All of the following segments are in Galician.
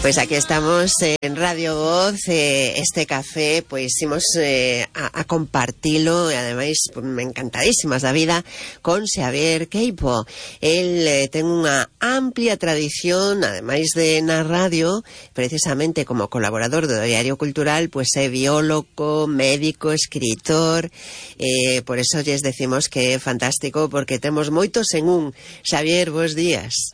Pois aquí estamos en Radio Voz, este café, pois imos a compartilo e ademais encantadísimas da vida con Xavier Queipo. El ten unha amplia tradición, ademais de na radio, precisamente como colaborador do Diario Cultural, pois é biólogo, médico, escritor, por eso lles decimos que é fantástico porque temos moitos en un. Xavier, bons días.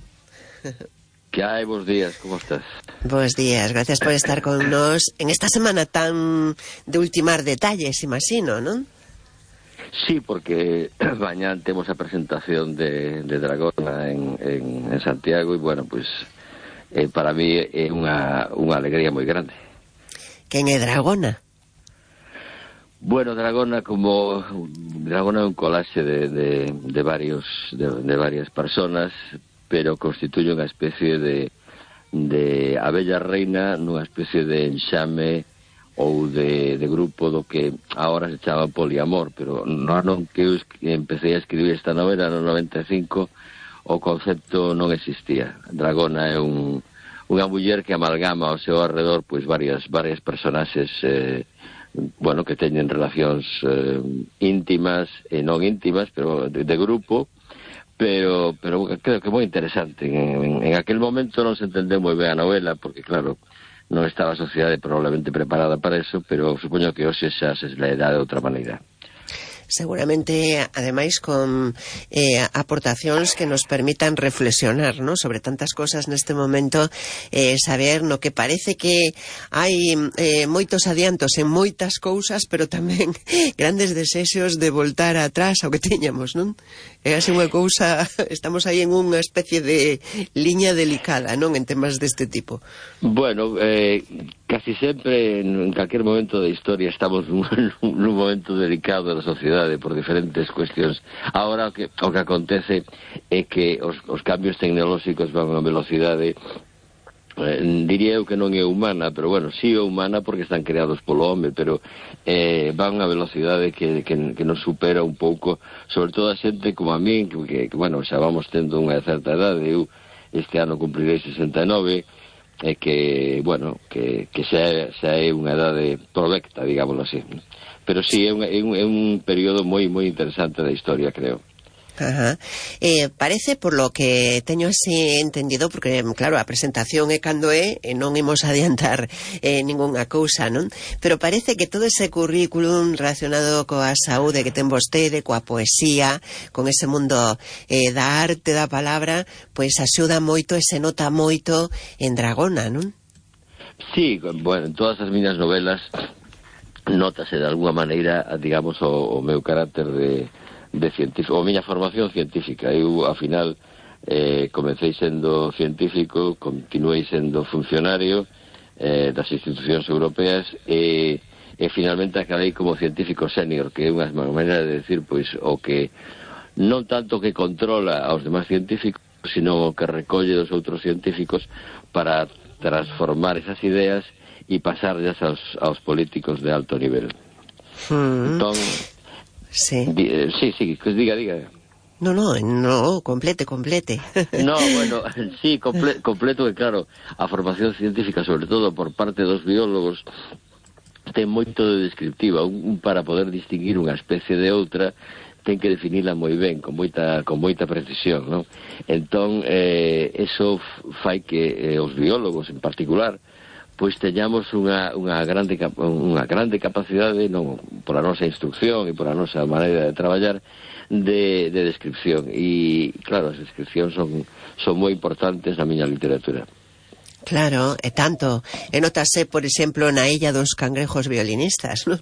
Que hai, bons días, como estás? Bos días, gracias por estar con nós en esta semana tan de ultimar detalles, imagino, non? Sí, porque mañá temos a presentación de Dragona en Santiago e, bueno, pues para mí é unha alegría moi grande. Quen é Dragona? Bueno, Dragona é un colaxe de varias personas, pero constituye unha especie de abella reina nunha especie de enxame ou de grupo do que agora se chama poliamor, pero no ano que eu empecé a escribir esta novela no 95 o concepto non existía. Dragona é unha muller que amalgama ao seu arredor pois varias personaxes bueno, que teñen relacións íntimas e non íntimas, pero de grupo. Pero creo que é moi interesante. En aquel momento non se entendeu moi ben a novela, porque claro, non estaba a sociedade probablemente preparada para eso, pero supoño que hoxe xa se lerá de outra maneira. Seguramente, ademais, con aportacións que nos permitan reflexionar, ¿no?, sobre tantas cosas neste momento, saber no que parece que hai moitos adiantos en moitas cousas, pero tamén grandes desexos de voltar atrás ao que tiñamos, non? É así unha cousa, estamos aí en unha especie de liña delicada, non?, en temas deste tipo. Bueno, casi sempre, en calquer momento da historia, estamos nun momento delicado da sociedade por diferentes cuestións. Ahora o que acontece é que os cambios tecnolóxicos van a velocidade, diría eu que non é humana, pero bueno, sí é humana porque están creados polo home, pero van a velocidade que nos supera un pouco, sobre todo a xente como a min, que bueno, xa vamos tendo unha certa edade. Eu este ano cumprirei 69, que, bueno, que xa é unha edade provecta, digámoslo así. Pero sí, é un período moi interesante da historia, creo. Ajá. Parece, por lo que teño así entendido, porque, claro, a presentación é cando é, e non imos adiantar ningunha cousa, non? Pero parece que todo ese currículum relacionado coa saúde que ten vostede, coa poesía, con ese mundo da arte, da palabra, pois axuda moito e se nota moito en Dragona, non? Sí, bueno, en todas as miñas novelas nótase de alguma maneira, digamos, o meu carácter de científico, ou miña formación científica. Eu, ao final, comecei sendo científico, continuei sendo funcionario das institucións europeas e finalmente acabei como científico senior, que é unha maneira de decir, pois, o que non tanto que controla aos demás científicos, sino o que recolle dos outros científicos para transformar esas ideas e pasarlas aos políticos de alto nivel. Entón, sí, diga. No, complete. No, bueno, sí, completo, que claro, a formación científica, sobre todo por parte dos biólogos, ten moito de descriptiva. Para poder distinguir unha especie de outra, ten que definila moi ben, con moita precisión, non? Entón, eso fai que os biólogos, en particular, pois teñamos unha grande capacidade, non, pola nosa instrucción e pola nosa maneira de traballar, de descripción. E, claro, as descripcións son moi importantes na miña literatura. Claro, e tanto. E notase, por exemplo, na Illa dos Cangrejos Violinistas, non?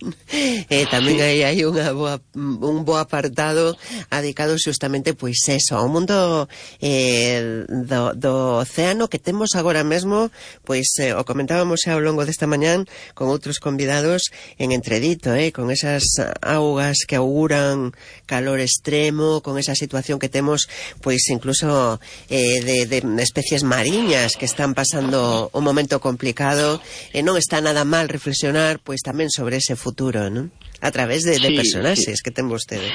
Tamén hai un bo apartado dedicado xustamente, pois eso, ao mundo do océano que temos agora mesmo, pois o comentábamos xa ao longo desta mañán con outros convidados en Entredito, con esas augas que auguran calor extremo, con esa situación que temos, pois incluso de especies mariñas que están pasando un momento complicado, e non está nada mal reflexionar pois tamén sobre ese futuro, non? a través de Sí, personaxes sí. que ten vostede.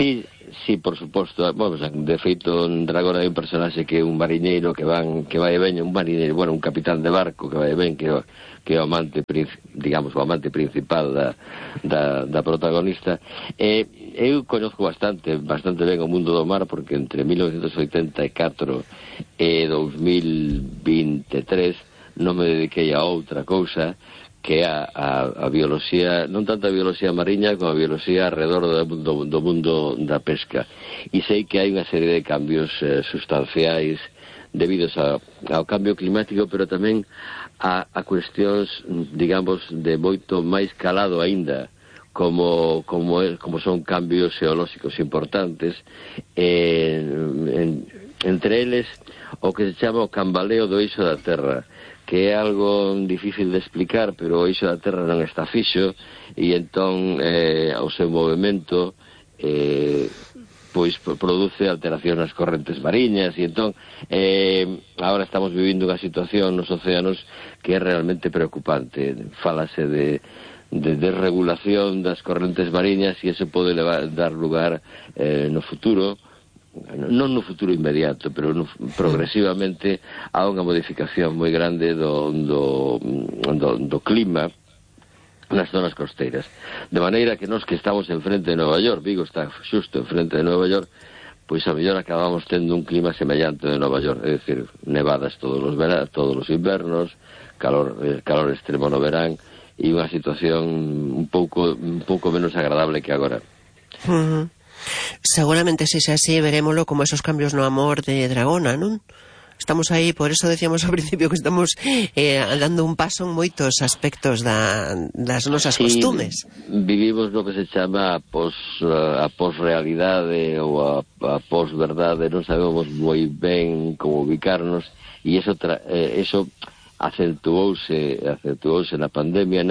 Sí, por suposto. Bueno, de feito, en Dragón hai un personaxe que é un mariñeiro que vai e veña, un mariñeiro, bueno, un capitán de barco que vai e ven, que é o amante, digamos, o amante principal da protagonista. Eu conozco bastante ben o mundo do mar, porque entre 1984 e 2023 non me dediquei a outra cousa que é a bioloxía, non tanto a bioloxía mariña como a bioloxía alrededor do mundo da pesca. E sei que hai unha serie de cambios sustanciais debidos ao cambio climático, pero tamén a cuestións, digamos, de moito máis calado aínda, como son cambios xeolóxicos importantes, entre eles o que se chama o cambaleo do eixo da Terra, que é algo difícil de explicar, pero o eixo da Terra non está fixo, e entón ao seu movimento pois produce alteración nas correntes mariñas, e entón agora estamos vivindo unha situación nos océanos que é realmente preocupante. Fálase de desregulación das correntes mariñas, e eso pode dar lugar no futuro, non no futuro inmediato, pero progresivamente a unha modificación moi grande do clima nas zonas costeiras. De maneira que nós que estamos enfrente de Nova York, Vigo está xusto enfrente de Nova York, pois a mellor acabamos tendo un clima semellante de Nova York, é dicir, nevadas todos os invernos, calor extremo no verán, e unha situación un pouco menos agradable que agora. Seguramente se xa así verémolo como esos cambios no amor de Dragona, non? Estamos aí, por eso decíamos ao principio que estamos dando un paso en moitos aspectos das nosas costumes. Vivimos no que se chama a posrealidade ou a posverdade, non sabemos moi ben como ubicarnos, e eso acentuouse na pandemia,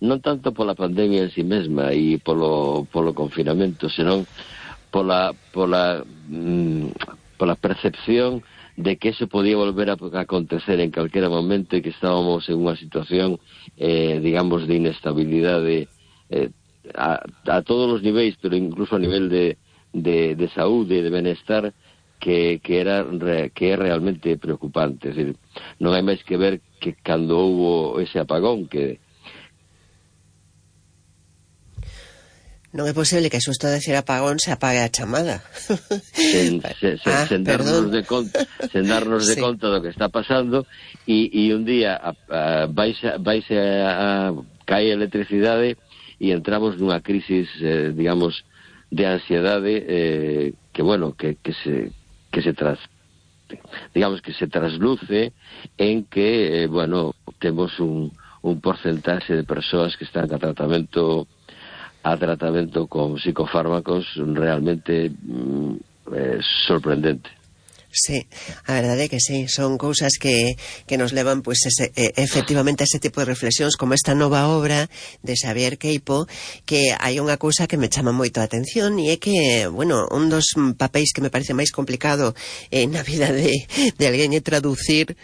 non tanto pola pandemia en si mesma e polo confinamento, senón pola percepción de que eso podía volver a acontecer en calquera momento, e que estábamos en unha situación, digamos, de inestabilidade a todos os niveis, pero incluso a nivel de saúde e de benestar, que é realmente preocupante. Es decir, non hai máis que ver que cando houbo ese apagón, que non é posible que xusto decir apagón se apague a chamada. sen darnos de conta do que está pasando, e un día vaise a caer a electricidade e entramos nunha crisis, digamos, de ansiedade, que se trasluce en que, temos un porcentaxe de persoas que están a tratamento con psicofármacos realmente sorprendente. Sí, a verdade é que sí, son cousas que nos levan pues efectivamente a ese tipo de reflexións, como esta nova obra de Xavier Queipo, que hai unha cousa que me chama moito a atención, e é que, un dos papéis que me parece máis complicado na vida de alguén é traducir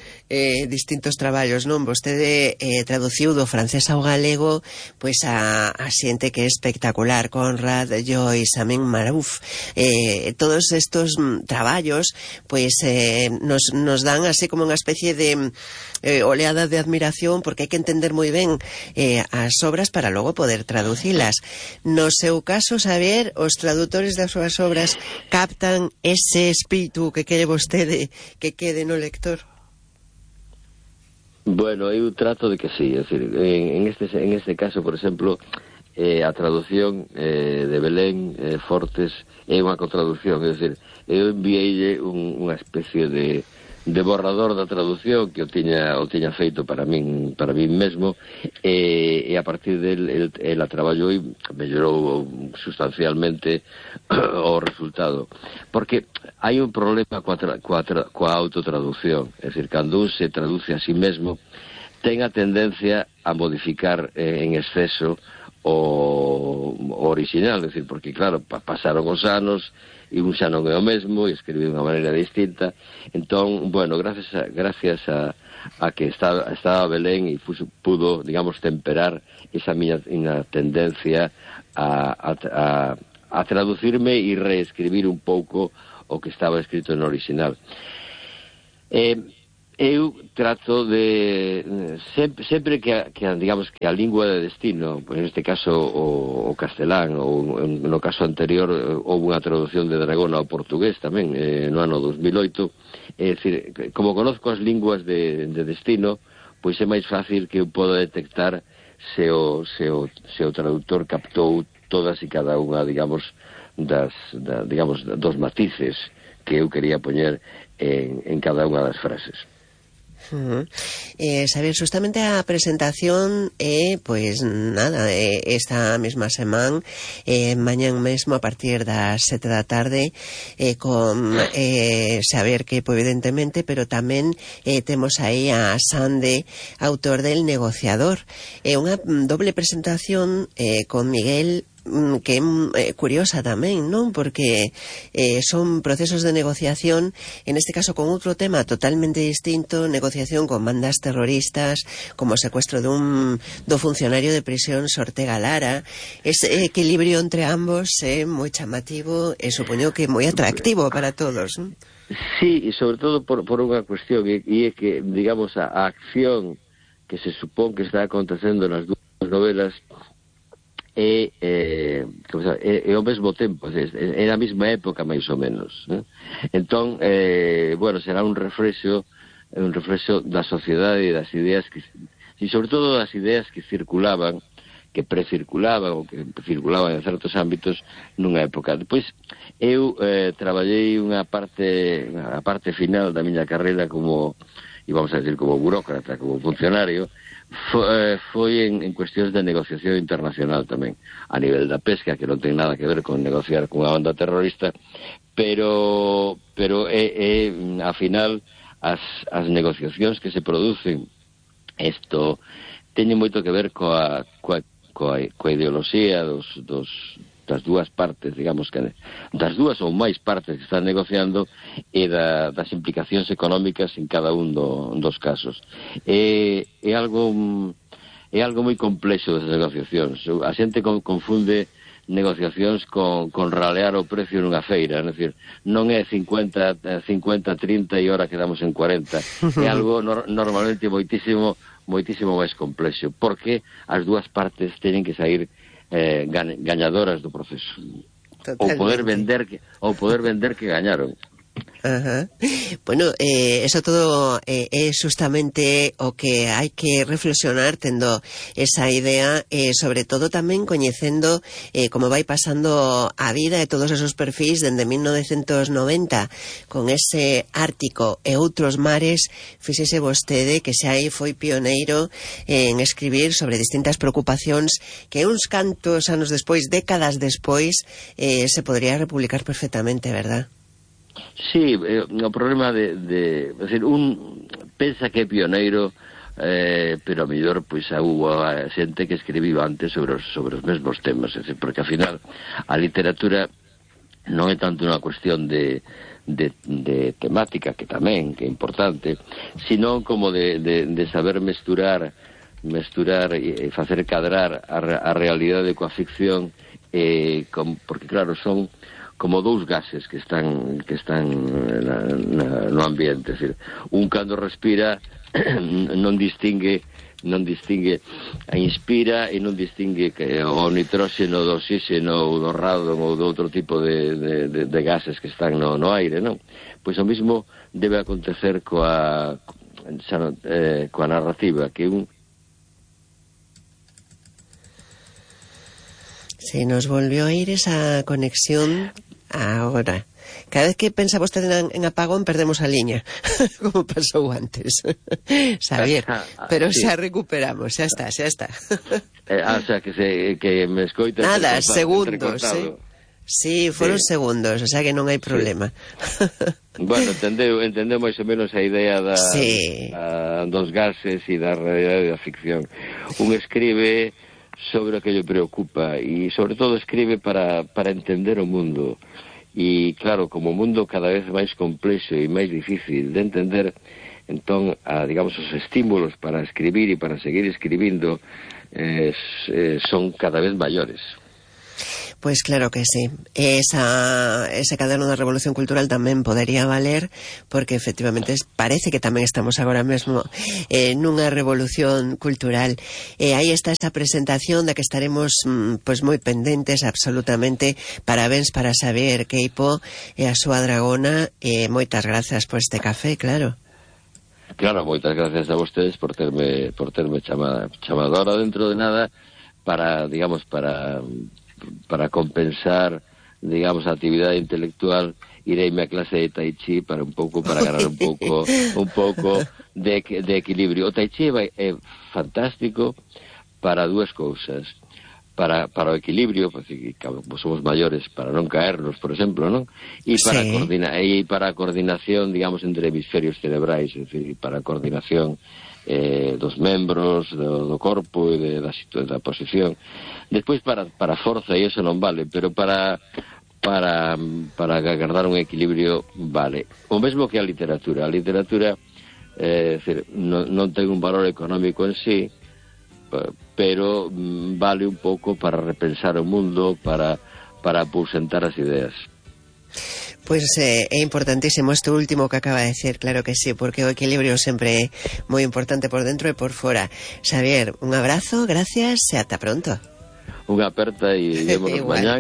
distintos traballos, non? Vostede traduciu do francés ao galego pois a xente que é espectacular, Conrad, Joyce, Amin Marouf, todos estos traballos pois nos dan así como unha especie de oleada de admiración, porque hai que entender moi ben as obras para logo poder traducilas. No seu caso, Xavier, os tradutores das súas obras captan ese espírito que quere vostede que quede no lector? Bueno, eu trato de que sí, es decir, en este caso, por exemplo, a traducción de Belén Fortes é unha contraducción, é dicir, eu enviei unha especie de borrador da traducción que o tiña feito para min mesmo, e a partir del ela traballou e mellorou sustancialmente o resultado, porque hai un problema coa autotraducción, é dicir, cando un se traduce a sí mesmo ten a tendencia a modificar en exceso o original, é dicir, porque claro, pasaron os anos e un xa non é o mesmo, e escribe de unha maneira distinta. Entón, gracias a que estaba Belén e pudo, digamos, temperar esa miña tendencia a traducirme e reescribir un pouco o que estaba escrito no original. Eu trato de sempre que digamos que a lingua de destino, pois neste caso o castelán, ou no caso anterior houve unha traducción de Dragón ao portugués tamén no ano 2008. É dicir, como conozco as linguas de destino, pois é máis fácil que eu poda detectar se o traductor captou todas e cada unha, digamos, dos matices que eu quería poñer en cada unha das frases. Saber, justamente a presentación pois nada, esta mesma semana, mañán mesmo a partir das 7 da tarde, con Saber que evidentemente, pero tamén temos aí a Sande, autor del Negociador, unha doble presentación con Miguel, que é curiosa tamén, non? Porque son procesos de negociación, en este caso con outro tema totalmente distinto, negociación con bandas terroristas, como o secuestro do funcionario de prisión Ortega Lara. Ese equilibrio entre ambos é moi chamativo e supoño que moi atractivo para todos, non? Sí, e sobre todo por unha cuestión, e é que, digamos, a acción que se supón que está acontecendo nas dúas novelas é ao mesmo tempo, é na mesma época máis ou menos, né? Entón, bueno, será un reflexo da sociedade e das ideas e sobre todo das ideas que circulaban, que precirculaban ou que circulaban en certos ámbitos nunha época. Depois eu traballei a parte final da miña carreira como, e vamos a decir, como burócrata, como funcionario. Foi en cuestións de negociación internacional tamén, a nivel da pesca, que non ten nada que ver con negociar con unha banda terrorista, pero a final as negociacións que se producen, isto teñen moito que ver coa ideoloxía das dúas partes, digamos que das dúas ou máis partes que están negociando, e das implicacións económicas en cada un dos casos. É algo moi complexo das negociacións. A xente confunde negociacións con ralear o precio nunha feira, é dicir, non é 50, 30 e ora quedamos en 40. É algo normalmente moitísimo máis complexo, porque as dúas partes teñen que sair gañadoras do proceso. Totalmente. Ou poder vender que gañaron. Ajá. Bueno, eso todo é justamente o que hai que reflexionar, tendo esa idea, sobre todo tamén coñecendo como vai pasando a vida e todos esos perfis dende 1990 con ese Ártico e outros mares. Fíxese vostede que xa aí foi pioneiro en escribir sobre distintas preocupacións que uns cantos anos despois, décadas despois, se podría republicar perfectamente, verdad? Sí, o problema de decir, un pensa que é pioneiro, pero a mellor pois hubo xente que escribiu antes sobre os mesmos temas, decir, porque ao final a literatura non é tanto unha cuestión de temática, que tamén, que é importante, sino como de saber mesturar e facer cadrar a realidade coa ficción, porque claro, son como dous gases que están no ambiente, é dicir, un cando respira non distingue, inspira e non distingue que o nitróxeno do oxígeno ou do radon ou do outro tipo de gases que están no aire, non? Pois o mismo debe acontecer coa narrativa, que Se nos volvió a ir esa conexión ahora. Cada vez que pensa vostede en apagón, perdemos a liña, como pasou antes. Xavier, pero sí, xa recuperamos, xa está. O sea, que me escoita... Nada, segundos, Sí, foron segundos, o sea que non hai problema. Bueno, entendeu máis ou menos a idea dos gases e da realidade da ficción. Un escribe sobre o que lle preocupa e sobre todo escribe para entender o mundo, e claro, como o mundo cada vez máis complexo e máis difícil de entender, Entón, digamos, os estímulos para escribir e para seguir escribindo son cada vez maiores. Pues claro que sí. Ese caderno da Revolución Cultural tamén podería valer, porque efectivamente parece que tamén estamos agora mesmo nunha revolución cultural. Aí está esta presentación da que estaremos pues moi pendentes absolutamente. Parabéns para Xavier Queipo e a súa dragona, moitas grazas por este café, claro. Claro, moitas gracias a vostedes por terme chamado ahora dentro de nada para, digamos, para compensar, digamos, a actividade intelectual. Ireime a clase de Tai Chi para ganar un pouco de equilibrio. O Tai Chi é fantástico para dúas cousas. Para o equilibrio, porque somos maiores, para non caernos, por exemplo, non? E para a coordinación, digamos, entre hemisferios cerebrais, é dicir, para a coordinación dos membros, do corpo e da posición. Despois para a forza, e iso non vale, pero para agardar un equilibrio vale. O mesmo que a literatura. A literatura non ten un valor económico en sí, pero vale un pouco para repensar o mundo, para aposentar as ideas. Pois é importantísimo isto último que acaba de decir, claro que sí, porque o equilibrio sempre é moi importante por dentro e por fora. Xavier, un abrazo, gracias e ata pronto. Unha aperta e vémonos mañán.